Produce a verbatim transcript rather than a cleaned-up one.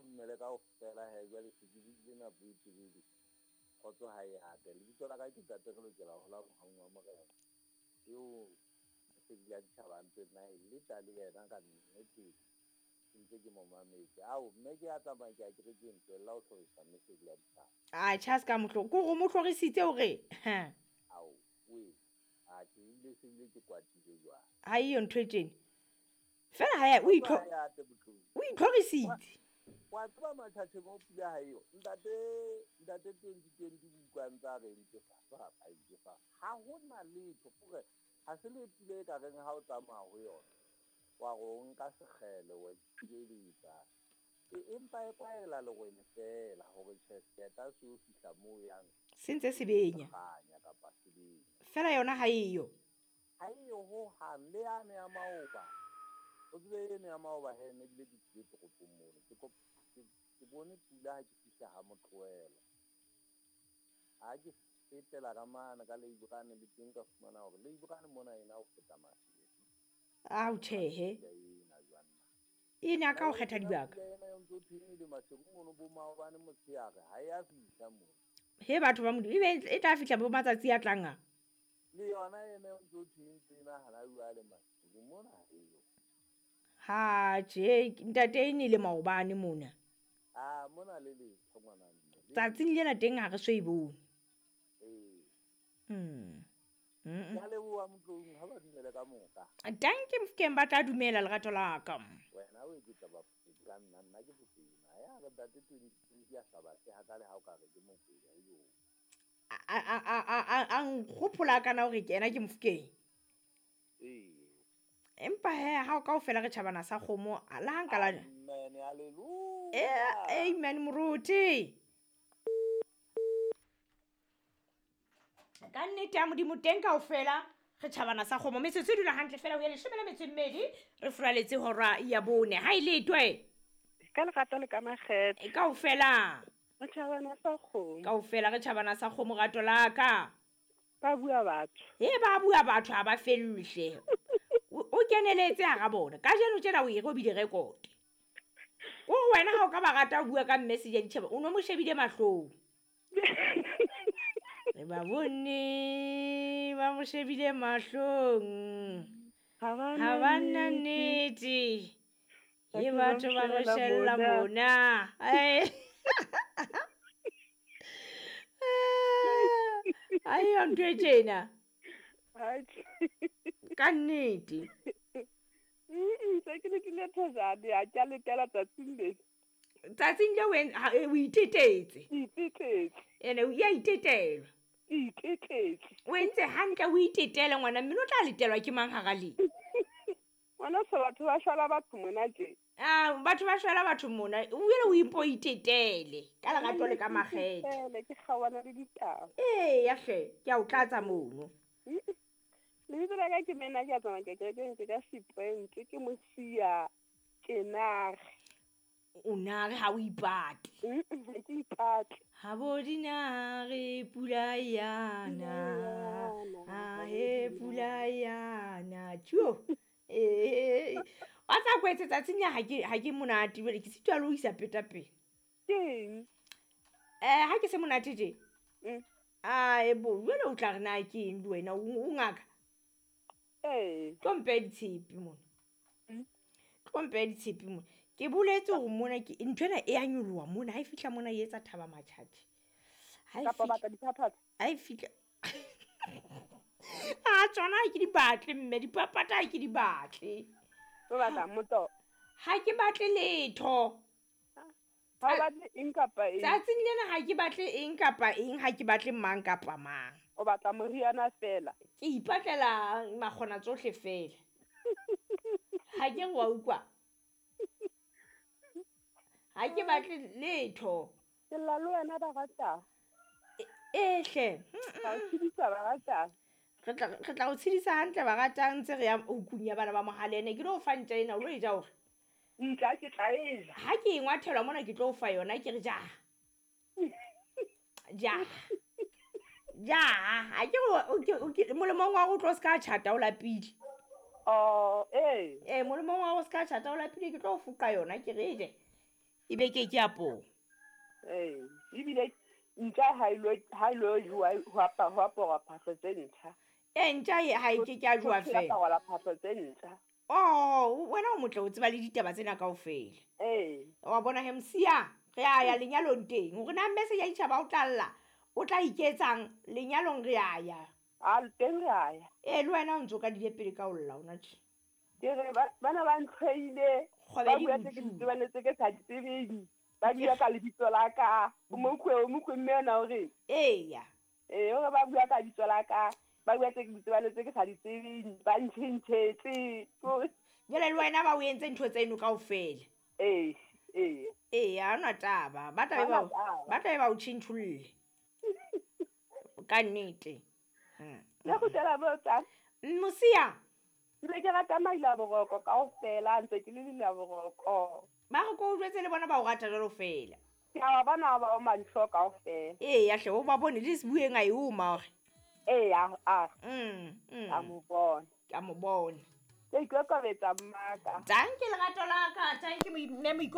dumele kaofela he jwale se ke buile nako e telele. Kgotso ha e ate. Lebitso la ka ke Ntate re lokela ho hola mohaung wa Morena. Eo Lesedi la Ditjhaba a ntse nna e leta le yena ka nnete. Ke ntse ke mo mametse. Ao mme ke a tsamaya ke a kerekeng tlohella ho hlorisa mme Lesedi la Ditjhaba. Atjhe a se ka mo hlo- ke hore o mo hlorisitse hore ha. Ao, we. Atjhe ebile se bile ke kwatile jwale. Ha eyo ntho e tjena. Fela ha ya o Kgotso itlho ha e ate Motlou. o itlhorisitse. Wa tseba matjhatjheng o pula ha eyo. Ntate ntate twenty twenty utlwa ntse a re ntse fa fa fa ntse fa. Ha hona letho hore ha se le pula e ka reng ha o tsamaya ho yona. Wa re o nka sekgele wa ithibeletsa. E empa e kwaela lerwele feela hore tjhe seeta se o fihla moo o yang. Se ntse se benya. Kganya kapa se benya. Fela yona ha eyo. Ha eyo hohang le yane ya maoba. O tsebe eno ya maoba he ne ebile ke tlile toropong mona. Ke kop-, ke, ke bone pula ha ke fihla ha Motlohelo. Ha ke fetela ka mane ka Leibrane le teng ka fumana hore Leibrane mona ena ho feta Maseru. Ao tjhehe. Pula ena jwang na? E ne a ka o kgetha dibaka. Pula ena eo ntse o thweng e le Maseru mono bo maobane motshehare ha e a fihla mona. He batho ba Modimo, ebe e tla fihla bo matsatsi a tlang a? Le yona ena eo ntse o thweng ntse ena hana jwale Maseru mona ha eyo. Ha tjhe, ntate e ne le maobane mona. Ah, mona le letho ngwana mme. Le Tsatsing lena teng ha re so e bone. Ee. Mm. Mm. Ke a leboha Motlou, ha ba dumele ka moka. Danke Mofokeng, ba tla dumela lerato la ka. Wena o eketsa bafokeng ka nna, nna ke Mokwena. Ya re ntate twenty twenty a sa batle hakale ha o ka re ke Mokwena eo. A, a, a, a, a, a nkgopola kana hore ke ena ke Mofokeng. Ee. Empa he ha o kaofela re tjhabana sa kgomo, le ha nka la Amen, hallelujah. Eh, amen moruti. Ka nnete ya Modimo teng kaofela re tjhabana sa kgomo. Metsotso e dula hantle fela ho ya leshome le metso e mmedi, re furaletse hora ya bone. Ha e letwe. Ka lerato le ka makgethe. E kaofela. Re tjhabana sa kgomo. Kaofela re tjhabana sa kgomo rato la ka. Ba bua batho. He ba bua batho ha ba fellwe hle. O, o keneletse hara bona. Kajeno tjena o e robile record. O wena ha o ka ba rata ho bua ka message ya ditjhaba, o no mo shebile mahlong. Re ba bone ba mo shebile mahlong. Ha ba Ha ba na nnete. Batho Ke ba batho ba mo re shebela shella mona. mona. Ai. Ai, yo ntho e tjena. Atjhe. Ka nnete. Mm, se ke le thejane, ha ke a letela tsatsing le. Tsatsing le wen-, ha, e, o itetetse. Ke itetetse. Ene o ya itetelwa. Ke itetetse. O entse hantle o itetele ngwana, mme o tla letelwa ke mang hara le? Ngwana se batho ba shwela batho mona tje. Ah, batho ba shwela batho mona. O ile o ipo itetele ka lerato le ka makgethe. Itetele, ke kgaohana le ditaba. Ee, ya hle, ke a o tlatsa mono. Lebitso la ka ke Mena, ke a tsamaya ke kerekeng, ke ka Seprente, ke Mosia, ke nare. O nare ha o ipate. Mm-mm, ha ke ipate. Ha bo di nare, pula yana. Ha he, pula yana. Tjo. Eh, wa tsa kwetse tsatsing ya ha ke, ha ke monate jwale, ke sitwa le ho isa peta pele. Keng? Eh, ha ke se monate tje? Mm. Ah, e bo, jwale o tla re na ke eng le wena, o, o ngaka? Ee. Tlo mpeha ditshepe mona. Mm. Tlo mpeha ditshepe mona. Ke boletse hore mona ke ntho ena e a nyoloha mona, ha e fihla mona e etsa thaba matjhatjhe. Ha e Kapa fihla batla diphaphatha? Ha e fihla. Ah, tsona ha ke di batle mme, diphaphatha ha ke di batle. O batla motoho? Ha ke batle letho. Ha o batle eng kapa eng? Tsatsing lena ha ke batle eng kapa eng, ha ke batle mang kapa mang. O batla moriana feela? Ke ipatlela makgona tsohle feela. Ha ke re wa utlwa. Ha ke batle letho. Ke lla le wena ba ratang. E, e hle. Ba o tshedisa ba ratang. Re tla, re tla o tshedisa hantle ba ratang ntse re ya hukung ya bana ba Mohalene. Ke tlo o fa ntja ena, o lo e ja hore? Ntja ke tla e ja. Ha ke e ngwathelwa mona ke tlo o fa yona, ke re ja. Ja. Ja, ha ke re o, ke, o, ke, molemong wa hore o tlo se ka tjhata o lapile. Oh, ee. Eh, molemong wa hore o se ka tjhata o lapile, ke tlo o foqa yona, ke re e je. E be ke ke ya poo. Ee, ebile ntja ha ilo ha ilo jowa ho apa ho aparwa phahlo tse ntjha. E ntja e ha e ke ke a jowa Ho fela. aparwa phahlo tse ntjha. Oh, wena o motle o tseba le ditaba tsena kaofela. Ee. Wa bona he Mosia, re a ya lenyalong teng. Hore na mme se ya ditjhaba o tla lla, o tla iketsang lenyalong re a ya. A teng re a ya. Ee, le wena o ntso ka dile pele ka ho lla hona tje. Ke re ba bana ba ntlhoile. Kgwebe Ba di bua tse ke di botsuwe. tsebang le tse ke sa di tsebeng. Ba bua ka lebitso la ka. O mokwe o mokwe mme yena o reng? Eya. Ee, o re ba bua ka lebitso la ka. Ba bua tse ke di tsebang le tse ke sa di tsebeng. Ba ntjhentjhetse. Ko- Jwale le wena ba o entse ntho tseno kaofela. Ee, ee. Ee, ha hona taba. Ba tla be Ha ba hona taba. ba tla be ba o tjhentjholle. Ka nnete. Mm. Le kgutlela moo tsa. Mosia, Ke be ke rata maila boroko kaofela, ntse ke le leila boroko. ba re ko o jwetse le bona ba o rata jwalo fela. Ke a ba bona ba o mantlho kaofela. Eya hle o ba bone le sebueng a e oma hore. Ee, a a Mm, mm. a mo bona. Ke a mo bona. Ke ikokobetsa mmaka. Tanki lerato la ka, tanki mme moiko